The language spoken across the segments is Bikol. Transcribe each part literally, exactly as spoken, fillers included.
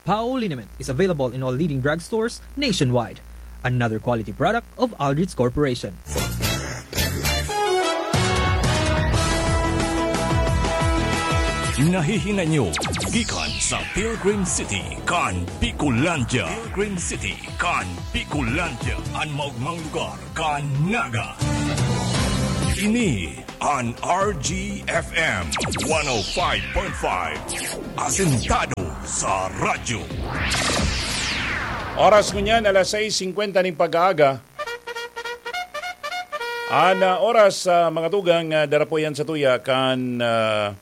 Pao liniment is available in all leading drugstores nationwide. Another quality product of Aldrich Corporation. Nahihinay nyo gikan sa Pilgrim City kan Bicolandia. Pilgrim City kan Bicolandia, an maogmang lugar kan Naga. Ini an R G F M one oh five point five, asentado sa radyo. Oras ngunyan, alas sais singkwenta ning pag-aaga. An, ah, oras, ah, mga tugang, ah, dara po yan sa tuya kan, ah,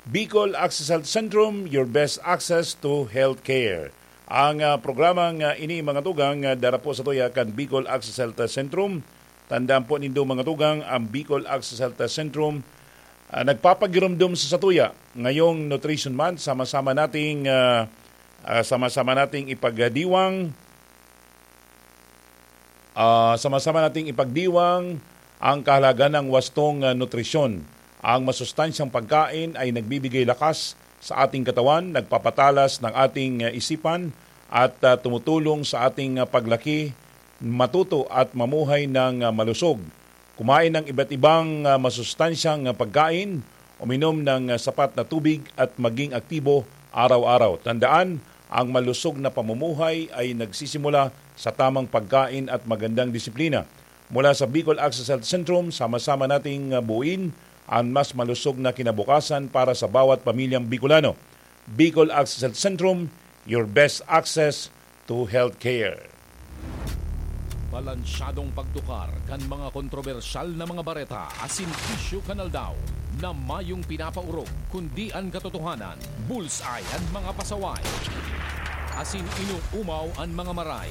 Bicol Access Health Centrum, your best access to healthcare. Ang, ah, programang, ah, ini, mga tugang, ah, dara po sa tuya kan Bicol Access Health Centrum. Tandaan po nindo, mga tugang, ang Bicol Access Health Centrum, ah, nagpapagirumdom sa satuya ngayong Nutrition Month. Sama-sama nating, ah, ah, sama-sama nating ipagdiwang, ah, sama-sama nating ipagdiwang ang kahalagahan ng wastong, ah, nutrisyon. Ang masustansyang pagkain ay nagbibigay lakas sa ating katawan, nagpapatalas ng ating, ah, isipan, at, ah, tumutulong sa ating, ah, paglaki, matuto at mamuhay ng, ah, malusog. Kumain ng iba't ibang, ah, masustansyang, ah, pagkain, uminom ng, ah, sapat na tubig at maging aktibo araw-araw. Tandaan, ang malusog na pamumuhay ay nagsisimula sa tamang pagkain at magandang disiplina. Mula sa Bicol Access Health Centrum, sama-sama nating, ah, buuin ang mas malusog na kinabukasan para sa bawat pamilyang Bicolano. Bicol Access Health Centrum, your best access to healthcare. Balansyadong pagtukar kan mga kontrobersyal na mga bareta asin isyu kan aldaw na mayong pinapaorog, kundi an katotohanan, bullseye an mga pasaway, asin inoomaw an mga maray.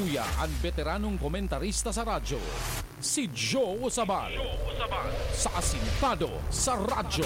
Uya an beteranong komentarista sa radyo, si Joe Sabal, sa Asintado sa Radyo.